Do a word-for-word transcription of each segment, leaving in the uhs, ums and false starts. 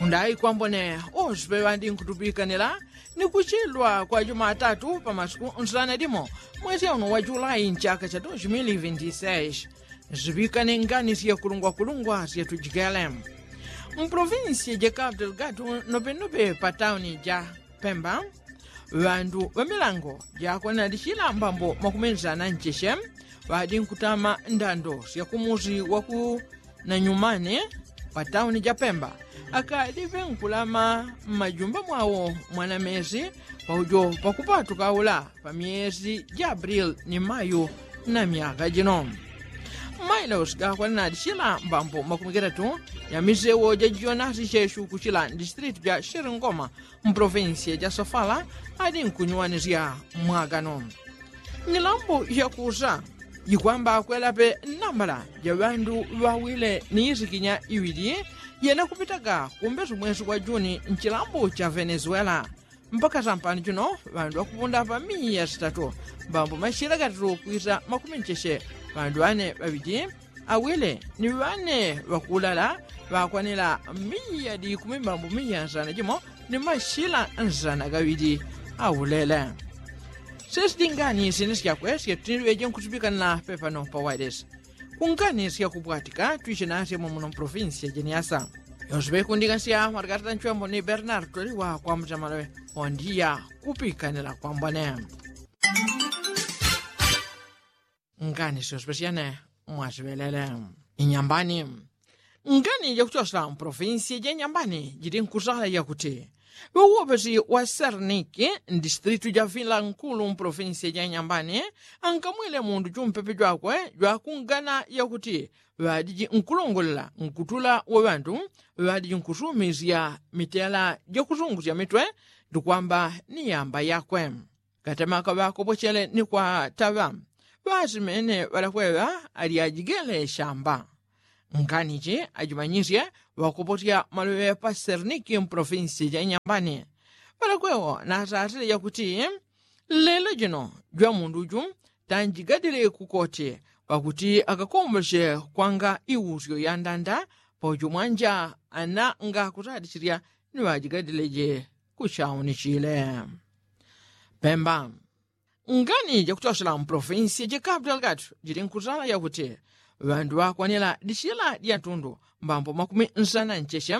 Ndayi kwambone osipe ŵandinkutupikane la ni kuchilwa kwa jumatatu pa masiku nsana limo mwezi auno wa julai nchaka cha dos mili vinti seis. Zipikane ngani sya kulungwakulungwa sya tujikele. Mprovinsi ja kapu delgado nopenope pa tauni ja pemba, ŵandu ŵa milango jakwanadishila mbambo makumi nsana ncheche ŵadinkutama ndando sya kumusi wa ku nanyumane pa tauni ja pemba, akadipe nkulama mmajumba mwawo mwana mesi paujo pakupatuka ula pa myesi ja abrili ni mayu na myaka jino. Mailosi gakwanadishila mbambo makumi gatatu ya misewo ja jonasi chesu kuchila ndisitilitu ja shilingoma mprovinsiya ja sofala adinkunyuwanisya mwagano. Nyilambo yakusa jikwamba kwelape nambala ja ŵandu ŵawile ni isikinya iŵili yenakupitaga kumbesu mwesi wa juni nchilambo cha venezuela. Mpaka sampani juno ŵandu ŵakupunda pa miya sitatu mbambo mashila gatatu kwisa makumi ncheche ŵandu ŵane ŵaŵiti awile ni ŵane ŵakulala ŵakwanila miya dikumi mbambo miya nsana jimo ni mashila nsana gaŵili. Aulele sesi dingani sini syakwe syatiniŵeje nkusipikanila pepano pa wailesi. Kungani syakupwatika twiche nasye mwamuno mprovinsi ya jeniasa yonse ŵekundika sya mwatikatata nchwembo ni bernard toliwa kwa mutamaloŵe. Ondiya kupikanila kwambone. Ngani syosyosyane mwasiŵelele inyambani. Ngani jakuchosela mpolofinsi ja inyambani jili nkusala yakuti ŵauwopesi wa serniki mdistritu ja vila nkulu mpolofinsi ja inyambani ankamwile mundu jumpepe jwakwe jwakungana yakuti ŵadiji nkulongolela nkutula wa ŵandu ŵadiji nkusumisya mitela jakusungusya mitwe ndikwamba ni yamba yakwe. Katemaka ŵakopochele ni kwataŵa ŵasimene ŵalakweŵa alyajigele shamba. Nganichi ajimanyisye ŵakoposya maluŵe pa serniki mpolofinsi ja inyambani ŵalakwewo nasasile yakuti lelo jino jwamundu ju tanjigadile kukoti pakuti akakombosye kwanga iusyo yandanda paujo mwanja ana ngakusadisirya ni ŵajigadileje. Kuchaunichile pemba. Ngani jakuchosela mpolofinsi ja kapu delgado jili nkusala yakuti ŵandu ŵakwanila disila dya ntundu mbambo makumi nsana ncheche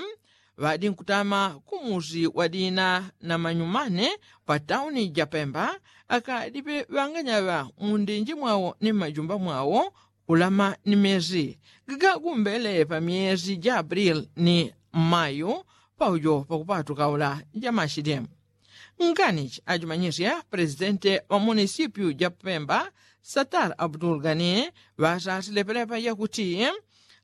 ŵadi nkutama kumusi wa dina na manyumane pa tauni ja pemba akadipe ŵanganyaŵa mundinji mwawo ni mmajumba mwawo kulama ni mesi gagagumbele pa myesi ja abrili ni mayu paujo pakupatuka ula ja mashidi. Nganichi ajimanyisye presidente wa munisipyu ja pemba satar abdul gani ŵasasile pelepa yakuti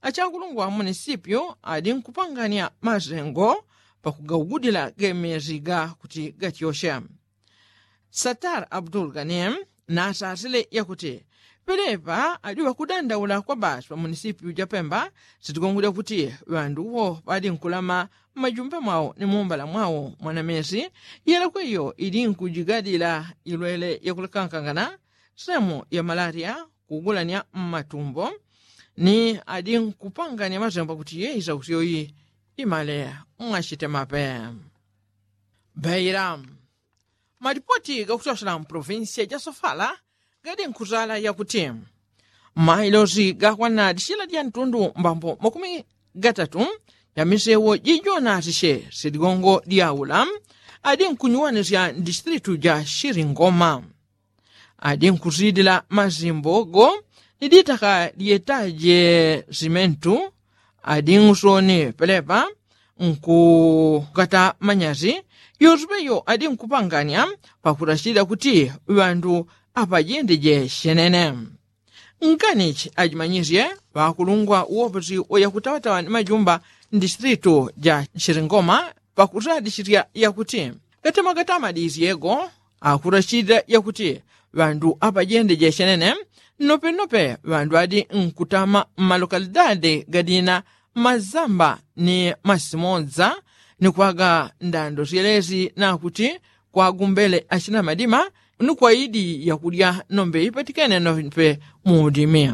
achakulungwa munisipyu adi nkupanganya masengo pakugaugudila gemesi ga kuti gatyosye. Satar abdul gani nasasile yakuti pelepa adi ŵakudandaula kwa basi pa munisipyu ja pemba sitigongo lyakuti ŵanduwo ŵadi nkulama mmajumba mwawo ni mumbala mwawo mwana mesi yelakweyo idi nkujigadila ilwele yakulekankangana semu ya malaria kugulanya mmatumbo ni adi nkupanganya masengo pakuti yeisa kuti yoyi imale mwachitemape. Beira. Malipoti gakuchosela mpolofinsiya ja sofala gadi nkusala yakuti mailosi gakwana disila dya ntundu mbambo makumi gatatu ya misewo jijonasisye siligongo dyaula adi nkunyuwanisya mdistritu ja shilingoma. Adi nkusidila masimbo go ni ditaka dyetaje simentu adi nkusoni pelepa nkukata manyasi yonse peyo adi nkupanganya pakutasila kuti ŵandu apajendeje shenene. Nganichi ajimanyisye ŵakulungwa uwopesi wa yakutawatawa ni majumba mdistritu ja shilingoma pakusadisisya yakuti gatema gatama disyego akurachita yakuti ŵandu apajende jeshenene. Nopenope ŵandu adi nkutama mmalokalidadi gadina mazamba ni masimodza ni kwaga ndando syelesi nakuti kwagumbele achina madima ni kwaidi yakulya nombe ipatikene nombe muudimi.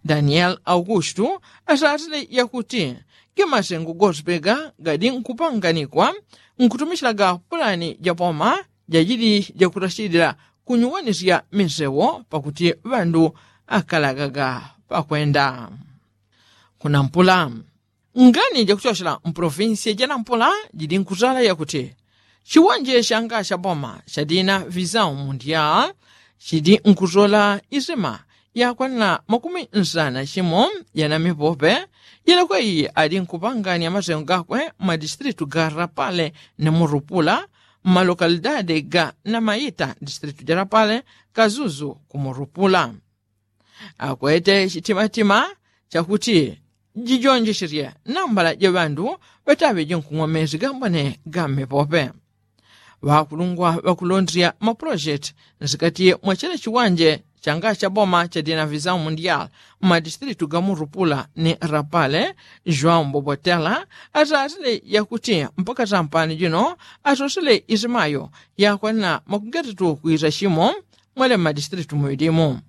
Danieli augustu asasile yakuti Ge masengo gosipega gadi nkupanganikwa nkutumishilaga pulani ja boma jajili jakutashilila kunyuwanisya misewo pakuti ŵandu akalagaga pakwenda kunampula. Ngani jakuchoshela mpolofinsiya janampula jidi nkusala yakuti chiwanje shanga shaboma shadina visau mundial chidi nkusola isima yakwanila makumi nsana chimo yanamipope. Yelekwe iyi adi nkupangania masengo gakwe mmadistilitu ga rapale ni murupula mmalokalidade ga namaita distilitu ja rapale kazuzu kumurupula. Akwete chitimatima chakuti jijonjesherye nambala ja ŵandu ŵataŵe jinkung'wa mezi gambone ga mmepope. Ŵakulungwa ŵakulondrya mapulojeti nsikati mwa chila chiwanje changa cha boma cha dinavisau mundial mmadistilitu ga murupula ni rapale joão bobotela atatile yakuti mpaka sampani jino asosele isimayo yakwanila makumi gatatu kwisa chimo mwele mmadistilitu muŵilimu.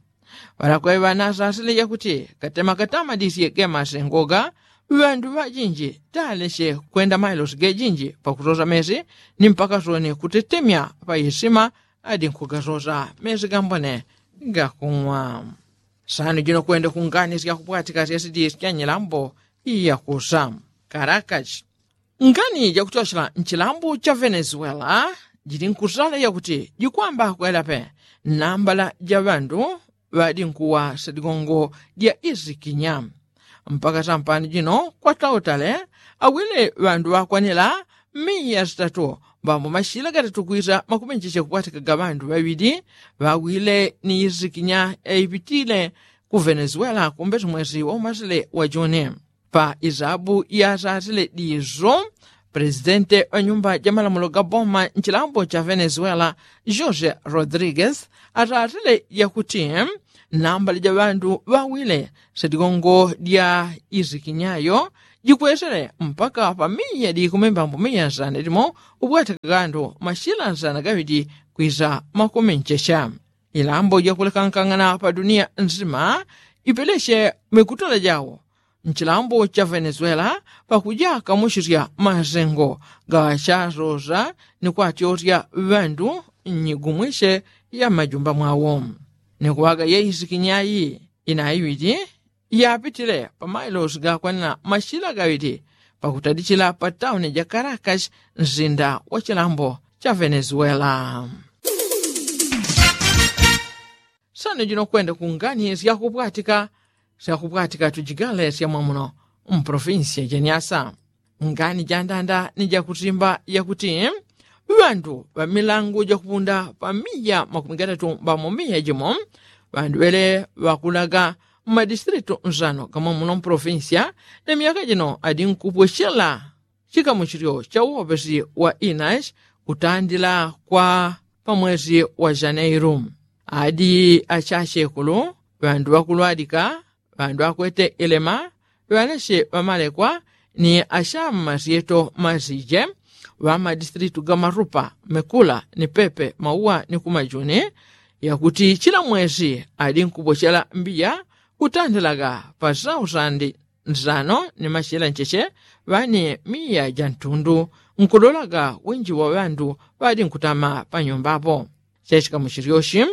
Ŵalakwe ŵanasasile yakuti katema katamadisye ge masengoga ŵandu ŵajinji talesye kwenda mailosi gejinji pakusosa mesi ni mpaka soni kutetemya pa isima adi nkugasosa mesi gambone gakung'wa. Sanu jino kwende kungani syakupwatika syasidi syanyilambo iyakusa karakachi. Ngani jakuchoshela nchilambu cha venezuela jili nkusala yakuti jikwamba kwelape nambala ja ŵandu ŵadinkuwa sadigongo dya isikinya. Mpaka sampani jino kwatautale awile ŵandu ŵakwanila miya sitatu mbambo mashila gatatu kwisa makuminji chekupwatikaga ŵandu ŵaŵili ŵawile ni isikinya yaipitile ku venezuela kumbesi mwesi waumasile wa juni. Pa isabu yasasile diso presidente wa nyumba ja malamulo ga boma nchilambo cha venezuela jose rodriguez asasile yakuti nambala ja ŵandu ŵawile sadigongo dya isikinyayo jikwesele mpaka pa miya dikumi mbambo miya nsana dimo ubwataka gandu mashila nsana gaŵidi kwisa makuminji cha ilambo jakulekankangana pa dunia nzima ipelesye mikutano jawo nchilambo cha venezuela pakuja kamuchisya masengo gaŵachasosa ni kwatyosya ŵandu nnyigumwisye ya mmajumba mwawo. Ni kuŵaga yeisikinyayi inaiŵiti yapitile pa mailosi gakwanila mashila gaŵiti pakutadichila pa tauni ja karakashi nsinda wa chilambo cha venezuela. Sano jino kwenda kungani syakupwatika syakupwatika tujigale syamwamuno mpolofinsiya janyasa. Ngani jandanda ni jakusimba yakuti ŵandu ŵamilangu jakupunda pa miya makumi gatatu mbamo miya jimo ŵandu ŵele ŵakulaga mmadistilitu nsano gamwamuno mpolofinsiya ni myaka jino adi nkupwechela chikamuchilyo cha uwopesi wa inashi kutandila kwa pa mwesi wa janeiru. Adi achachekulu ŵandu ŵakulwadika ŵandu akwete ilema ŵanache ŵamalekwa ni achama masyeto masije ŵamadistritu ga marupa mekula ni pepe mauwa ni kumajuni yakuti chila mwesi adi nkupochela mbiya kutandilaga pa sausandi nsano ni machila ncheche ŵani miya ja ntundu nkudolaga winji wa ŵandu ŵadi nkutama panyumba apo. Chachikamuchilyochi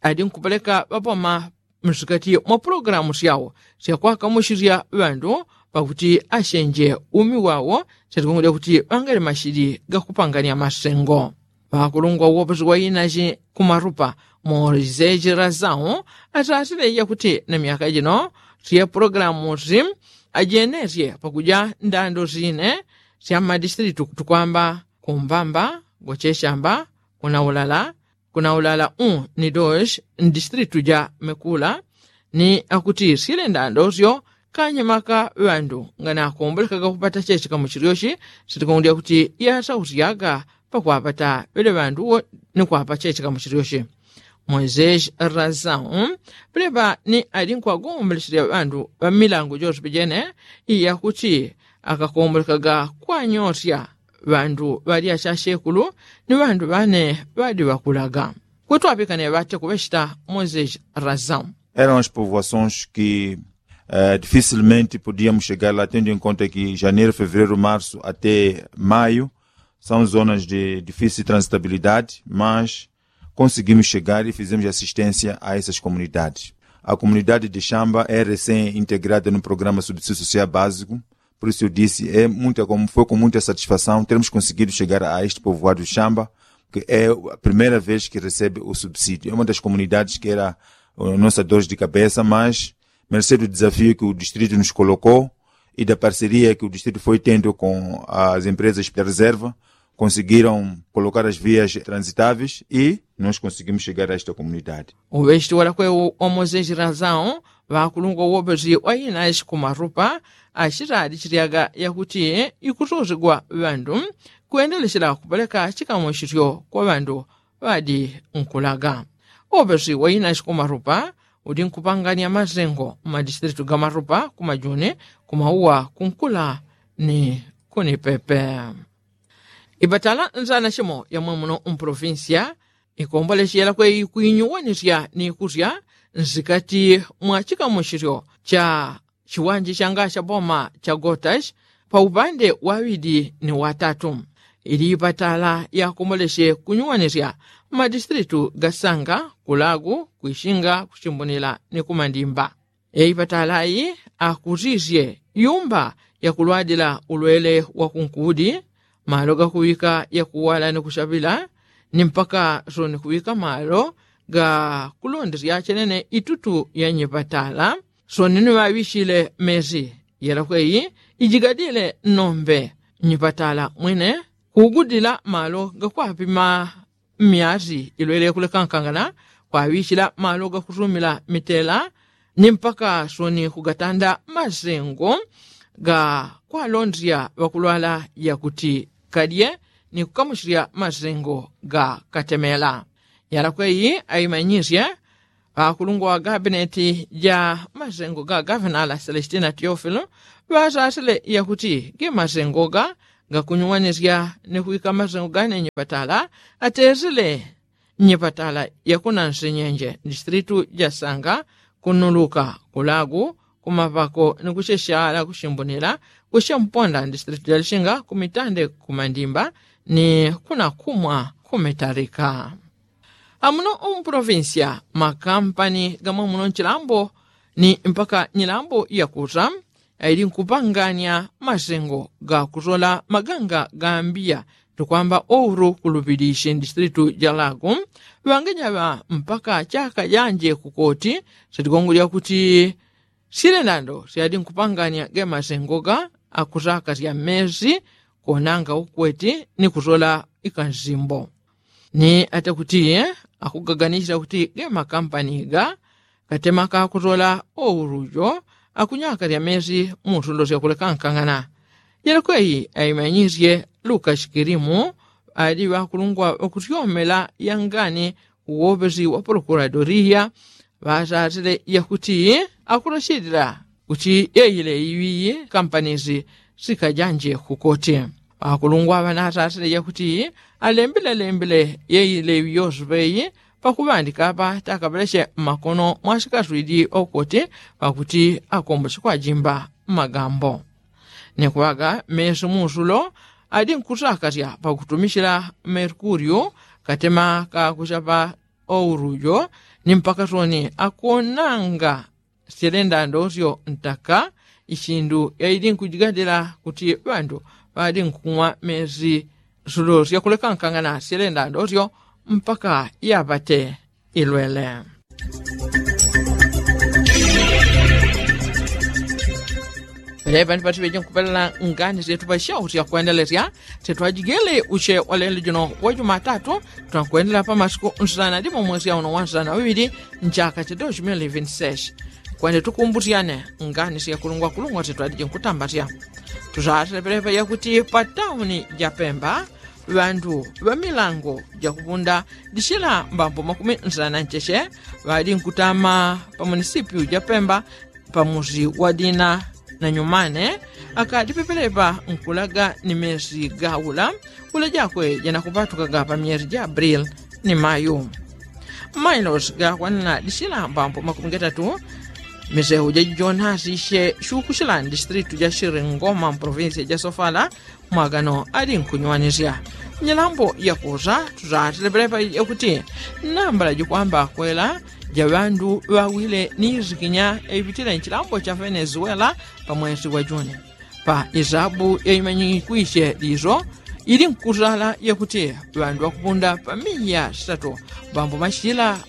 adi nkupeleka ŵapoma msikati mwa pulogalamu syao syakwakamuchisya ŵandu pakuti achenje umi wao syatikungulya kuti ŵangali machili gakupangania masengo. Ŵakulungwa uwoposi wa inachi kumarupa moiseji lazau asasile yakuti na myaka jino sye pulogalamusi ajenesye pakuja ndando sine sya mmadistritu tukwamba kumbamba gochechamba kunaulala kunaulala u ni doshi mdistritu ja mekula ni akuti sile ndando syo kanyamaka ŵandu nganakombolekaga kupata chechikamuchilyochi sitikungulya kuti yasausyaga pakwapata ŵele ŵandu wo ni kwapa chechikamuchilyochi. Moiseji razau ŵeleŵa ni adi nkwagomboleselya ŵandu ŵamilangu jose pejene iyakuti akakombolekaga kwanyosya ŵandu ŵalya chachekulu ni ŵandu ŵane ŵadi ŵakulaga. Kutwapikane ŵate kuŵechita moiseji razau. Eram as povoações que Dificilmente podíamos chegar lá tendo em conta que janeiro fevereiro março até maio são zonas de difícil transitabilidade, mas conseguimos chegar e fizemos assistência a essas comunidades. A comunidade de xamba é recém integrada no programa subsídio social básico. Por isso eu disse, é muita como foi com muita satisfação termos conseguido chegar a este povoado de xamba, que é a primeira vez que recebe o subsídio. É uma das comunidades que era nossa dores de cabeça, mas mercê do desafio que o distrito nos colocou e da parceria que o distrito foi tendo com as empresas da reserva, conseguiram colocar as vias transitáveis e nós conseguimos chegar a esta comunidade. Uŵechiti walakwe omozechila zao ŵakulungwa uwopeshi wa inashi kumarupa ashitadi chilyaga yakuti ikusuzigwa ŵandu kwendelechela kupeleka chikamuchilyo kwa ŵandu ŵadi nkulaga. Uwopeshi wa inashi kumarupa udi nkupangania mazengo mmadistritu ga marupa kumajuni kumauwa kunkula ni kunipepe. Ipatala nzana chimo yamwemuno mpolofinsia ikomboleshi yalakwe ikuinyuwanisya ni kusya nsikati mwa chikamuchilyo cha chiwanje changa cha boma cha gotashi pa upande waŵidi ni watatu. Ili ipatala yakomboleshi kunyuwanisya mmadistritu ga sanga kulagu kwishinga kuchimbunila ni kumandimba. Eipatala ayi akusisye yumba yakulwadila ulwele wa kunkudi, malo gakuŵika yakuwala ni kuchaŵila ni mpaka soni kuŵika malo ga kulondesya chenene itutu ya nyipatala. Soni ni ŵaŵichile mesi yelakweyi ijigadile nombe nyipatala mwine kugudila malo gakwapima myasi ilwele kulekankangana kwaŵichila malo gakusumila mitela ni mpaka soni kugatanda masengo ga kwalondesya ŵakulwala yakuti kadye ni kukamuchilya masengo ga katemela. Yalakweyi aimanyisye ŵakulungwa wa gabineti ja masengo ga gavenala selestina teofilo ŵasasile yakuti ge masengo ga gakunyuwanisya ni kuŵika masengo gane nyipatala atesile nyipatala yakuna nsinyenje distritu ja sanga kunuluka kulagu kumapako ni kucheshala kuchimbunila kuchemponda distritu ja lishinga kumitande kumandimba ni kunakumwa kumitalika. Amuno umpolofinsia makampani gamwe muno nchilambo ni mpaka nyilambo yakusa aili nkupangania masengo gakusola maganga gambiya tukwamba ouru kulupilishi ndistritu jalagu ŵangejaŵa mpaka chaka janje kukoti sitigongo lyakuti silendando syadi nkupangania gemasengo ga akusaka sya mmesi konanga ukweti ni kusola ikansimbo ni ata kuti akugaganisila kuti gemakampani ga katema kakusola ourujo akunyaka lya mesi mu nsundo syakulekankang'ana. Jelekweyi aimanyisye luka shikilimu ali ŵakulungwa ŵakusyomela yangani uwopesi wa prokuradoria ŵasasile yakuti akulashilila kuti yeile iŵiyi kampanisi sikajanje kukoti. Ŵakulungwa ŵanasasile yakuti alembile lembile yeile iŵi yosupeyi pakuŵandika apa takapeleshe mmakono mwasikaswidi okoti pakuti akombosi kwajimba mmagambo. Ni kuŵaga mesu musulo adi nkusakasya pakutumishila merkuriu katema kakuchapa ourujo ni mpaka soni akonanga syelenda ndosyo ntaka ichindu yaidi nkujigadila kuti ŵandu ŵadi nkung'wa mesi sulo syakulekankang'ana syelenda ndosyo mpaka yapate ilwele. Pelepa ndipatiŵeje nkupelela ngani syetu pasyausya kwendelesya syetu ajigele usye walelo juno wa jumatatu. Tunakwendela pamasiku nsana dimo mwesya uno wa nsana ŵiŵili nchaka cha dos mil vinti seis. Kwende tukumbusyane ngani syakulungwakulungwa syetu adije nkutambasya. Tusasile pelepa yakuti pa tauni ja pemba ŵandu ŵa milango jakupunda disila mbambo makumi nsana ncheche ŵadi nkutama pa munisipiu ja pemba pamusi wa dina na nyumane akadipepelepa nkulaga ni mesi gaula ula jakwe janakupatukaga pa myesi ja abril ni mayu. Mailosi gakwanana disila mbambo makumi gatatu Misehu jajijonasi she shukushila ndistritu ja shiri ngoma mprovinsia ja sofala mwagano ali nkunywanisya. Nyilambo yakusa tusateleperepa yakuti nambala jikwamba kwela ja ŵandu ŵawile ni izikinya ipitile nchilambo cha venezuela pa mwesi wa juni pa isabu yaimanyikwishe liso ili nkusala yakuti ŵandu ŵakupunda pa miya sitatu mbambo mashila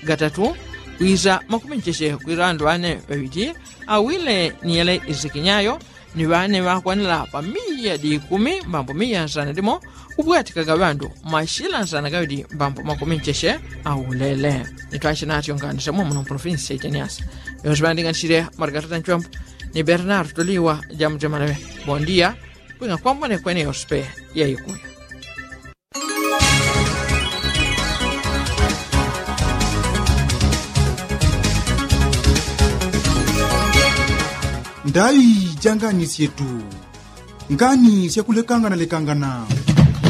gatatu kwisa makumincheshe kwisa ŵandu ŵane ŵaŵiti awile ni yele izikinyayo ni ŵane ŵakwanila pa miya di ikumi mbambo miya nsana limo kupwatikaga ŵandu mashila nsana gaŵidi mbambo makumincheshe aulele. Nitwashe natyo nganisemo muno mpolofinsi ya iteniasa yonse ŵandinganisile margarita nchwambo ni bernardo liwa jamujemanaŵe. Bondia kwing'a kwambone kwene yospe yaikuya. Ndaŵi janganisye tu ngani syakulekangana lekangana.